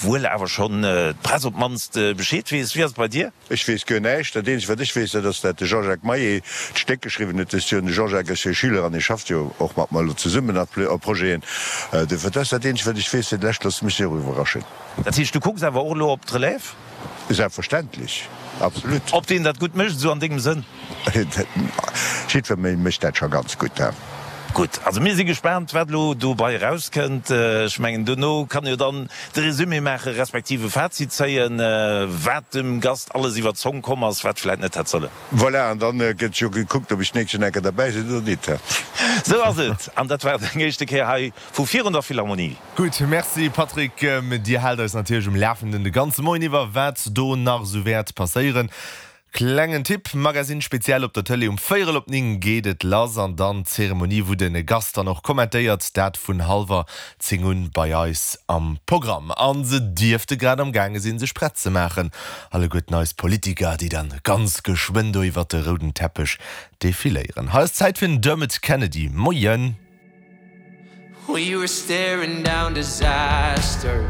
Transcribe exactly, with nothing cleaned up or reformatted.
Obwuel awer schonn d'Press op d'mannst Bescheed weess. Wéi ass et bei dir? Ech weess guer näischt. Dat eenzegt, wat ech weess, dat ass, dat de Jean-Jacques Maillet d'Stéck geschriwwen huet dëst Joer. An de Jean-Jacques ass jo e Schüler an hie schafft jo och mat mer elo zesummen op Projeten. Duerfir, dat ass dat eenzegt, wat ech weess. Fir de Lescht loosse mech jo och iwwerraschen. Dat heescht, du kucks awer och elo op d'Relève? Selbstverständlech, absolut. Ob deen dat gutt mécht, esou an dengem Sënn? Jiddwer mécht dat scho ganz gutt. Gutt, also mir si gespaant, wat elo dobei erauskënnt. Ech mengen, dono kann jo dann de Resumé maachen, respektiv e Fazit zéien, wat dem Gast alles iwwer d'Zong komm ass, wat vläit net hätt sollen. Voilà, an dann gëtt jo gekuckt, ob ech d'nächst Joer enker derbäi sinn oder nit. Sou ass et. An dat war deng éischte Kéier hei vu virun der Philharmonie. Gutt, Merci Patrick. Dir haalt eis natierlech um Lafenden de ganze Moien iwwer, wat do nach esou wäert passéieren. Klengen Tipp, Magazine Spezial op der Tëlee um véierel op néng geet et lass an dann d'Zeremonie wou de Gast dann och kommentéiert, dat vun hallwer zéng un bei eis am Programm. An se dierfte grad am gaange sinn sech prett ze maachen, alleguerten eis Politiker déi dann ganz geschwënn do iwwert de rouden Teppech defiléieren. Hei ass Zäit fir den Dermot Kennedy. Moien! We were staring down disaster.